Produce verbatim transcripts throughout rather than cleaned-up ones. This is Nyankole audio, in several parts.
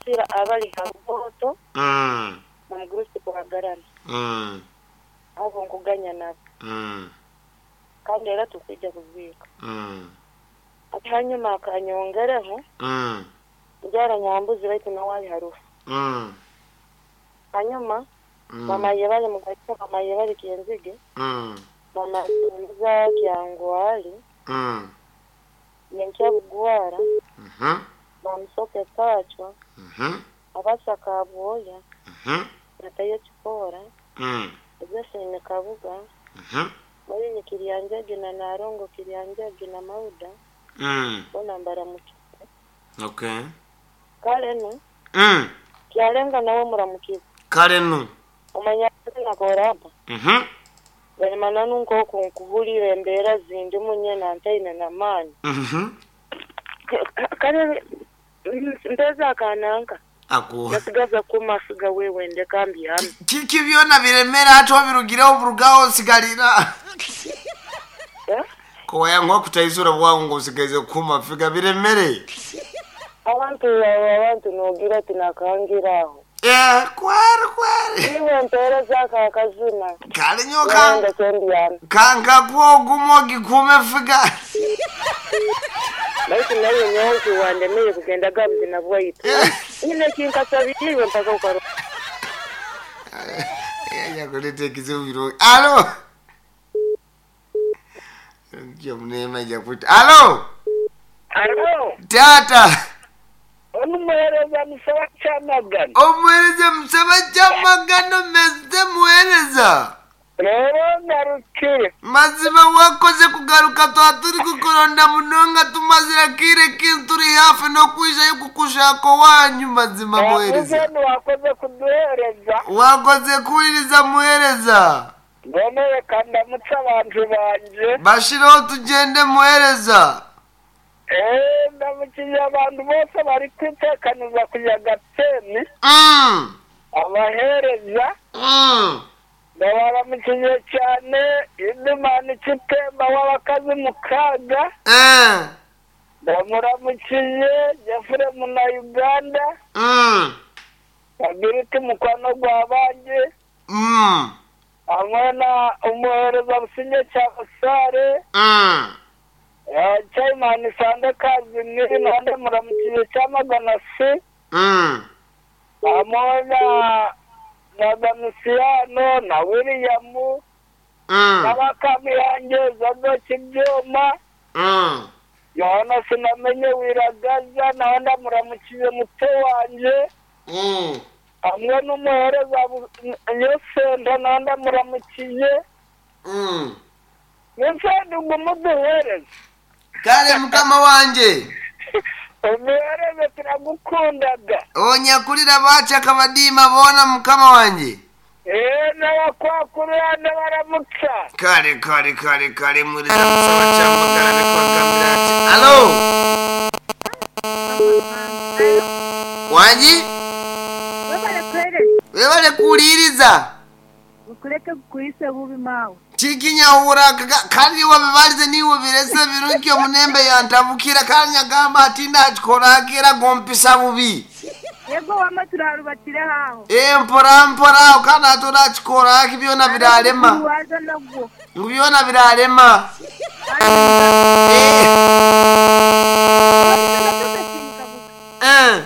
Kansasira abali ha Rugoto Mm. n'omugurusi Kwagarana. Mm. Abo nkuganya nabo. Mm. Kandi era tukwija kuziika. Mm. Ati hanyuma akanyongereho Mm. njara Nyambuzi baitu nawe ali harufu. Mm. Hanyuma Mm. mama yebale mugaita, mama yebale Kyenzige, Mm. mama Simbiza Kyangwali, Mm. Nyenkya Bugwara, Mhm. Bamusoke Kachwa, Mhm. Abasa Kabwoya, Mhm. Natayo Kipora, Mm. Josephine Kabuga, Mhm. Moyini Kiryanjagi na Narongo Kiryanjagi na Mauda, Mm. bona mbaramukize. Okay. Kale nu, Mm. kyalenga nawe muramukize. Kale nu. Omanya nakoraba. Mhm. Bali nanu nk'oku nkuhulira embeera zindi munye nantaine namaani. Mhm. Kale mpeza akananka. Ako. Nasigaza kumasiga wewe ndeka mbyame. Kiki byona biremera ate obirugireho burugaho osigalira. Eh? Kowaya nk'okutaizura bwangu ng'osigaize kumafiga biremere. Abantu abo abantu nogira ati nakangira aho. Eh, kweri kweri. Iwe mpeereza ako akazina. Kale nyo kan Wenda mbyame. kanka kwogumo gikume figa. Baitu nayo nyonki wandemeye kugenda gabuzina bwaitu. Nyine kinkasabiriwe mpaka ukaro. Yakuleta ekizibu birungi. Alo. Ndio mnema jakuta. Alo. Alo, Tata. omuhereza musaba kyamagana. Omuhereza musaba kyamagano meze muhereza. Rero ngarukire. Mazima wakoze kugaruka twa turi kukuronda munonga tumazira kire kintu turi hafi n'okwijayo kukushaka wanyu mazima muhereza. Wakoze wakoze kuduhereza. Wakoze kuwuliriza muhereza. Mbone reka ndamutse abantu banje. Bashireho tugende muhereza. Eh, ndamukiye abantu bose bari kwitekaniza kuja Gateni. Mm. Abahereza Mm. ndabaramukiye cyane. Idimani Kitemba w'abakazi mukaga. Eh. Ndamuramukiye Jeffrey muna Uganda. Mm. Agiriti mukwano gwabanje. Mm. Hamwe na umuhereza Businge cya Busare. Mm. Chairman Sande Kazimiri nande muramukiye cyamagana si. Mm. Hamwe na na Damusiyano na William Mm. n'abakamiyange Zadoki Byuma. Mm. Yohana sinamenye Wiragaza nawe ndamuramukiye muto wanje. Mm. Hamwe n'umuhereza Bu- Yosenda nawe ndamuramukiye. Mm. Yosenda umuduhereze. Kale mukama wanje. Umuhereze turagukundaga. Onyakulira bacha kabadima bona mukama wanje. Eh, n'abakwakurira ndabaramutsa. Kale kale kale kale muhereza musaba kyamagana nekwagambira ati alo wangi Webale kuhereza. webale kuwuliriza. Ukureke kukuise bubi mawe. Tikinyahura kandi wabibalize niwe birese birungi omunembe yantabukira kandi nyagamba ati ndakikorakera gompisa bubi. Yego wama turarubatire haho. Eh mpora mpora kandi ate orakikorak byona birarema. Waza nagwo. Ngu byona birarema. Eh eh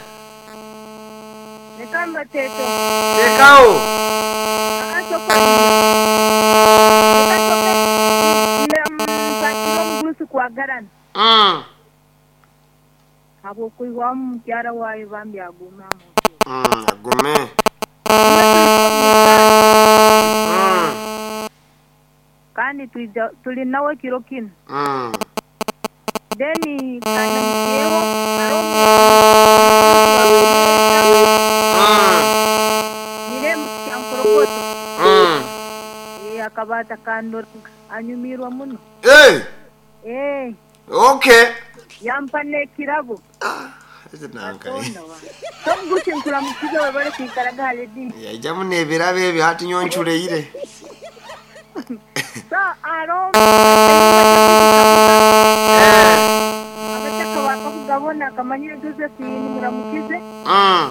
Reka mbateto. tekawo. Akasoko. Mpakira omugurusi kwagarana. Mm. Habwokuihwamu mukyara wayo bambi aguma mu. Mm, agume. Mm. Kandi tuija tuli nawe kiro kino. Mm. Then kanamukyeho aromu Mm. niremu kyankorokoto. Mm. Eh, akabata kandora anyumirwa muno. Eh, Eh, okay. yampa n'ekirabo. Ah, ese nanka. Katonda wa. Tomugusi nkuramukize webale kwikaraga hale Yaijamu n'ebirabo ebyo hati nyonculeire. So aro Eh. abataka bakakugabona akamanyire Josephine muramukize Mm.